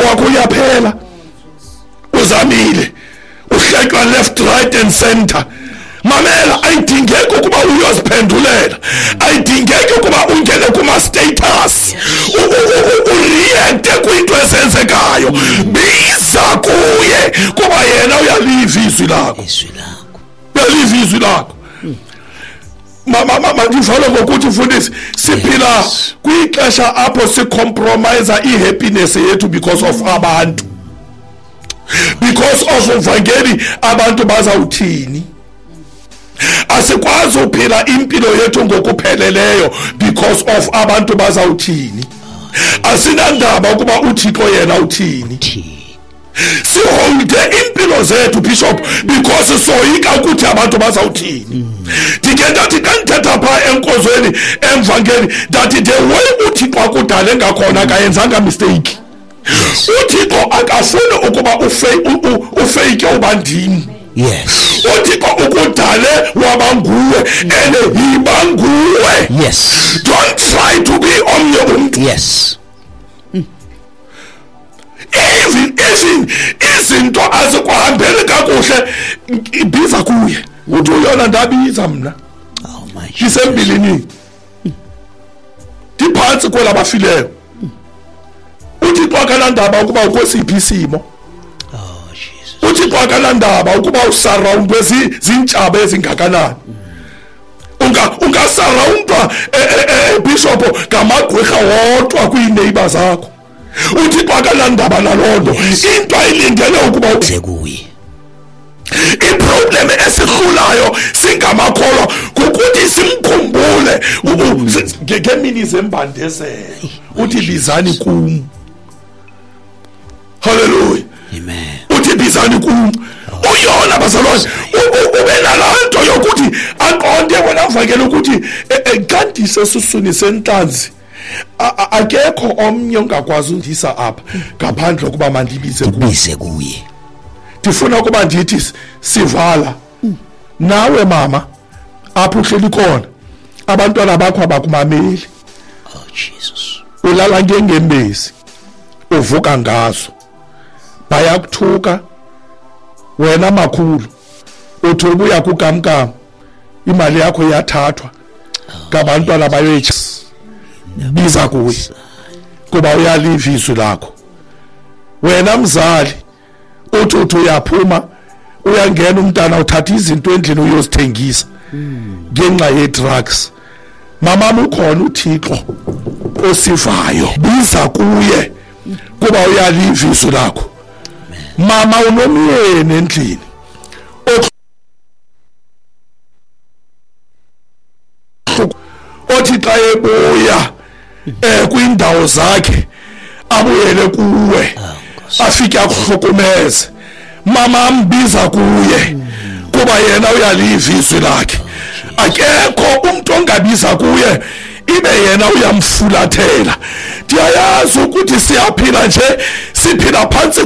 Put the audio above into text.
wakho uyaphela, uzamile, uhletywa left, right and center. Mamela, ayidingeki ukuba uyoziphendulela, ayidingeki ukuba ungene kuma-status ureacte kwinto ezenzekayo. Biza kuye, kuba yena uyaliva izwi lakho. Uyaliva izwi lakho. Mandivale ngokuthi, mfundisi, siphila kwixesha apho sicompromise ihappiness yethu because of abantu, because of uvangeli, abantu bazawuthini. Asikwazi uphila impilo yethu ngokupheleleyo because of abantu bazawuthini. Asinandaba ukuba uThixo yena uthini. Siholde impilo zethu, Bishop, because soyika ukuthi abantu bazawuthini. Ndike ndathi xa ndithetha phaa enkonzweni emvangeli, ndathi the way uThixo akudale ngakhona akayenzanga mistake. UThixo akafuni ukuba ufake uba ndim. UThixo ukudale waba nguwe, and yiba nguwe. Don't try to be omnye umntu. Even izinto azikuhambeli kakuhle, ibiza kuye. Uthi uyona ndabiza mna. Oh my Ndisembilini. Ndiphantsi kwelabafileyo. Uthixo akanandaba ukuba ukwesiphi isimo. Oh Jesus. Uthixo akanandaba ukuba usurroundwe zintshaba ezingakanani. Ungasurroundwa Bishop ngamagqwirha wodwa kwiineighbor zakho. Uthixo akanandaba naloo nto. Into ayilindele ukuba uze kuye. Iproblem esihlulayo singamakholwa kukuthi simkhumbule ngemini zembandezelo. Uthi bizani kum. Hallelujah. Amen. Uthi bizani kum. Uyona bazalwane, ube nalaa nto yokuthi aqonde wena mvangeli ukuthi xa ndisesuswini sentlanzi, akekho omnye ongakwazi undisa apha ngaphandle kokuba mandibize kuye. Ndibize kuye. Ndifuna ukuba ndithi sivala. Nawe mama, apho uhleli khona, abantwana bakho abakumameli. Oh Jesus. Ulala ngengembezi, uvuka ngazo. Bayakuthuka wena makhulu, uthi ubuya kukamkam, imali yakho iyathathwa ngabantwana bayoyitsha. Biza kuye kuba uyaliva izwi lakho. Wena mzali, uthi uyaphuma, uyangena umntana, uthatha izinto endlini uyozithengisa ngenxa ye-drugs. Mama, ukhona uThixo osivayo, biza kuye kuba uyaliva izwi lakho. Mama, unomyeni endlini othi xa ebuya kwiindawo zakhe abuyele kuwe, afike akuhlukumeze. Mama, ambiza kuye kuba yena uyaliva izwi lakhe. Akekho umuntu ongabiza kuye ibe yena uyamfulathela. Ndiyayazi ukuthi siyaphila nje, siphila phantsi